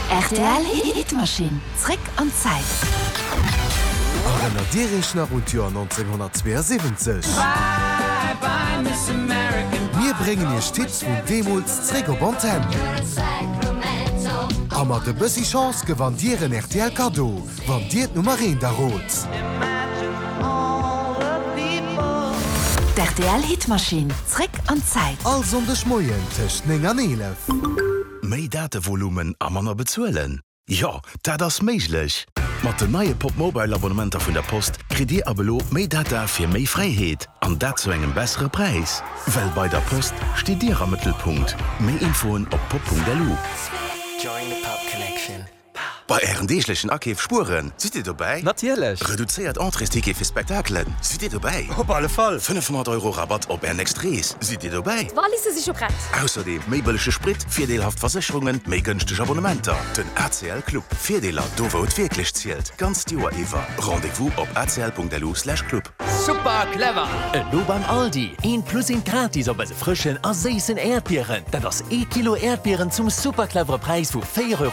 Rtl Hitmaschinn, zréck an d'Zäit. Erënnert Dir Iech nach un d'Joer 1972? Mir bréngen Iech d'Hits vun deemools zréck op Antenn. A mat e bëssi Chance gewannt Dir en rtl Kaddo, wann Dir d'Nummer eent errot. D'RTL Hitmaschinn, zréck an d'Zäit. All Sonndeg Moien tëscht 9 an 11. Méi Datevolumen a manner bezuelen? Jo, dat ass méiglech! Mat den neie Pop-Mobile Abonnementer vun der Post kritt Dir ab elo méi Data fir méi Fräiheet, an dat zu engem bessere Präis. Well bei der Post steet Dir am Mëttelpunkt. Méi Infoen op pop.lu. Bei Ären deeglechen Akeef spueren, sidd Dir dobäi? Natierlech! Reduzéiert Entréesticket fir Spektakelen, sidd Dir dobäi? Op alle Fall! 500 Euro Rabatt op Är nächst Rees, sidd Dir dobäi? D'Walisse si scho prett! Ausserdeem méi bëllege Sprit, virdeelhaft Versécherungen, méi gënschteg Abonnementer. Den ACL Club, Virdeeler do wou et wierklech zielt, d'ganzt Joer iwwer. Rendez-vous op acl.lu/club. Super clever! Elo beim Aldi, eent plus eent gratis op eise frëschen a séissen Äerdbieren. Dat ass ee Kilo Äerdbieren zum super clevere Präis vu 4,99 Euro.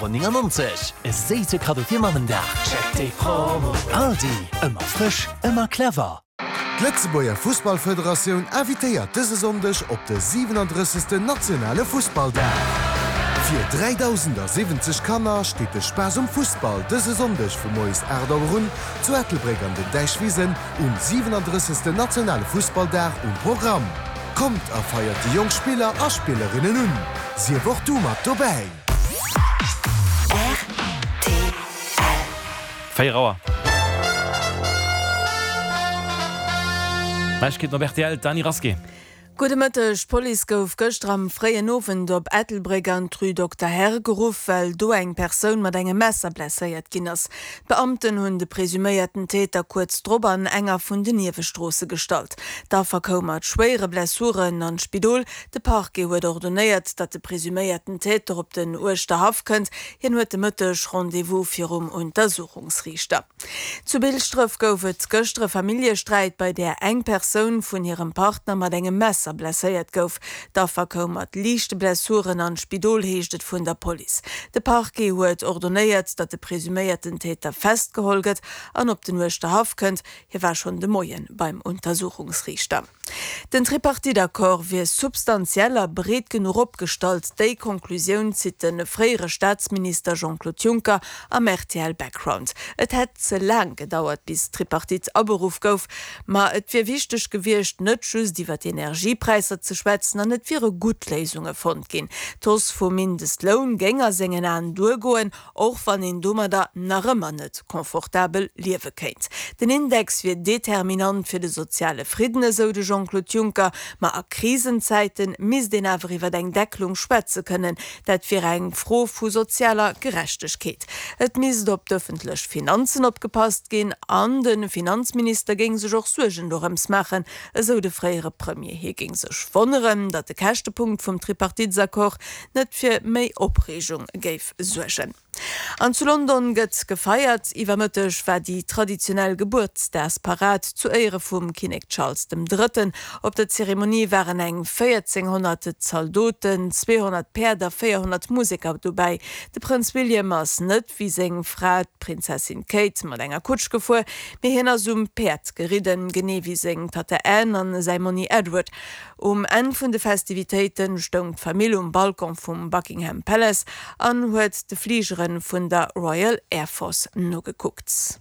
E séisse Kaddo fir Mammendag. Check déi Promo! Aldi, ëmmer frësch, ëmmer clever! D'Lëtzebuerger Fussballfederatioun invitéiert dëse Sonndeg op de 37. nationale Fussballdag. Fir 3.070 Kanner steet de Spaass um Fussball dëse Sonndeg vu moies 8 Auer un Zu Ettelbréck an den Däichwisen um 37. Nationale Fussballdag um Programm. Kommt a feiert déi jonk Spiller a Spillerinnen un! Sief och du mat dobäi! Rtl. 4 Auer. Neiegkeeten op rtl, d'Dany Rasqué. Gudde Mëtteg, D'Police gouf gëschter am fréien Owend op Ettelbréck an d'Rue Dokter Herr geruff, well do eng Persoun mat engem Messer blesséiert ginn ass. D'Beamten hunn de presuméierten Täter kuerz drop an enger vun den Niewestroosse gestallt. D'Affer koum mat schwéiere Blessuren an d'Spidol. De Parquet huet ordonéiert, datt de presuméierten Täter op den Uerschterhaff kënnt. Hien huet de Mëtteg Rendez-vous virum Untersuchungsriichter. Zu Bilschdref gouf et gëschter e Familljesträit, bei där eng Persoun vun hirem Partner mat engem Messer blesséiert gouf. D'Affer koum mat liichte Blessuren an d'Spidol, heescht et vun der Police. De Parquet huet ordonéiert, datt de presuméierten Täter festgeholl gëtt an op den Uerschterhaff kënnt. Hie war schonn de Moie beim Untersuchungsriichter. Den Tripartite-Accord wier substantiell a breet genuch opgestallt, déi Conclusioun zitt de fréiere Staatsminister Jean-Claude Juncker am rtl Background. Et hätt ze laang gedauert, bis d'Tripartite aberuff gouf, ma et wier wichteg gewiescht, net just iwwer d'Energiepräisser ze schwätzen an et wiere gutt Léisunge fonnt ginn. D'Hausse vum Mindestloun géing a sengen Aen duergoen, Och wann een domadder nach ëmmer net confortabel liewe kéint. Den Index wier determinant fir de soziale Fridden, esou de Jean-Claude Juncker. Ma a Krisenzäite misst een awer iwwer eng Deckelung schwätze kënnen. Dat wier eng Fro vu sozialer Gerechtegkeet. Et misst op d'ëffentlech Finanzen opgepasst ginn an de Finanzminister géing sech och Suergen dorëms maachen, esou de fréiere Premier. Hie géing sech wonneren, datt de Käschtepunkt vum Tripartitesaccord net fir méi Opreegung géif suergen. An zu London gëtt gefeiert. Iwwer Mëtteg war déi traditionell Gebuertsdagsparad zu Éiere vum Kinnek Charles dem Drëtten. Op der Zeremonie waren eng 1.400 Zaldoten, 200 Päerd a 400 Museker dobäi. De Prënz William ass net wéi seng Fra, d'Prinzessin Kate, mat enger Kutsch gefuer, mee hien ass um Päerd geridden, genee wéi seng Tatta Anne an säi Monni Edward. Um Enn vun de Festivitéite stoung d'Famill um Balcon vum Buckingham Palace an huet de Fligere vun der Royal Air Force nogekuckt.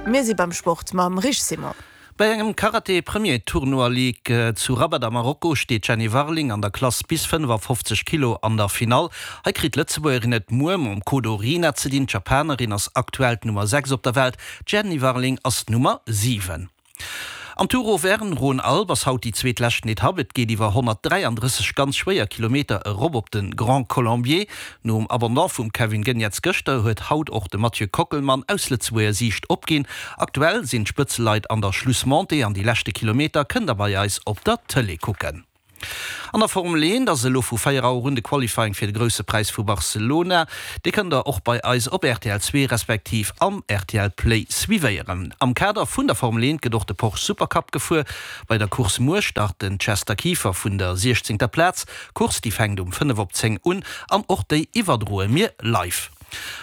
Mir si beim Sport mam Rich Simon. Bei engem Karate Premier Tournoi Ligue zu Rabat a Marokko steet d'Jenny Warling an der Klass bis 55 Kilo an der Finall. Hei kritt d'Lëtzebuergerin et muer mam Kodo Rina ze dinn. D'Japanerin ass aktuell d'Nummer 6 op der Welt, d'Jenny Warling ass d'Nummer 7. Am Tour Auvergne-Rhône-Alpes ass haut déi zweet leschten Etapp. Et geet iwwer 133 ganz schwéier Kilometer erop op de Grand Colombier. Nom Abandon vum Kevin Geniets gëschter huet haut och de Mathieu Kockelmann aus Lëtzebuerger Siicht opginn. Aktuell sinn d'Spëtzeleit an der Schlussmontée an déi leschte Kilometer kënnt der bei eis op der Tëlee kucken. An der Formel 1 ass elo vu 4 Auer un de Qualifying fir de Grousse Präis vu Barcelona. Dee kënnt der och bei eis op rtl 2 respektiv am rtl Play suivéieren. Am Kader vun der Formel 1 gëtt och de Porsche Supercup gefuer. Bei der Course muer start den Chester Kieffer vun der 16. Plaz. D'Course déi fänkt um 5 op 10 un an och déi iwwerdroe mir live.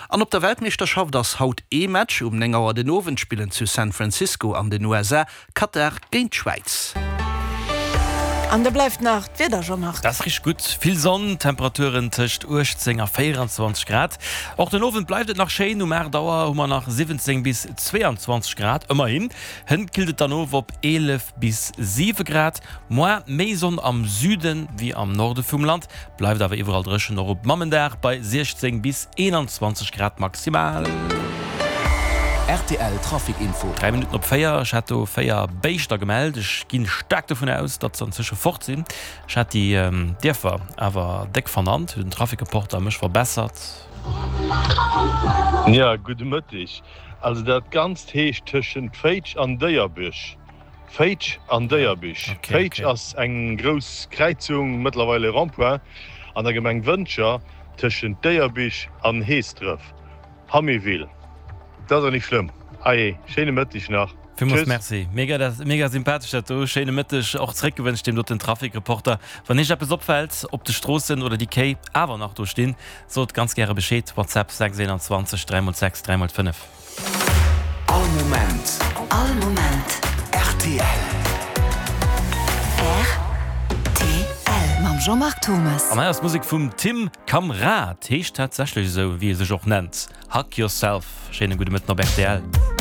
An op der Weltmeeschterschaft ass haut ee Match. Um 9 Auer den Owend spillen zu San Francisco an den USA Katar géint d'Schwäiz. An da bleift nach d'Wieder, Jean-Marc. Dat ass richteg gutt. Vill Sonn, Temperaturen tëscht 18 a 24 Grad. Och den Owend bleift et nach schéin, um 8 Auer hu mer nach 17 bis 22 Grad, ëmmerhin. Hënt killt et dann of op 11 bis 7 Grad. Moar méi Sonn am Süde wéi am Norde vum Land, Bleift awer iwwerall dréchen, och op Mammendag bei 16 bis 21 Grad maximal. Rtl Trafic Info. 3 Minutten op 4, ech hat do 4 Béischter gemellt. Ech ginn staark dovun aus, datt se anzwësche fort sinn. Ech hat déi Dierfer awer déck vernannt, huet den Trafic-Reporter mech verbessert. Jo, gudde Mëtteg. Also dat Ganzt heescht tëschent Féitsch an Déierbech. Féitsch an Déierbich. Féitsch ass eng grouss Kräizung, mëttlerweil e Rond-point, an der Gemeng Wëntger, tëschent Déierbich an Heesdref. Haméville. Dat ass och nik schlëmm. Allez, schéine Mëtteg nach. Villmools Merci. Mega, mega sympathesch dat do. Schéine Mëtteg och zréckgewënscht deem doten Trafikreporter. Wann iech eppes opfält op de Stroossen oder déi Kéi awer nach do stinn, sot ganz gäre Bescheed. WhatsApp 6 21 3 x 6 3 x 5. All Moment. All Moment. Rtl. Rtl. Mam Jean-Marc Thomas. An hei ass d'Musek vum Tim Kamrad, heescht tatsächlech esou wéi e sech och nennt, Hug Yourself. Schéine gudde Mëtten op rtl.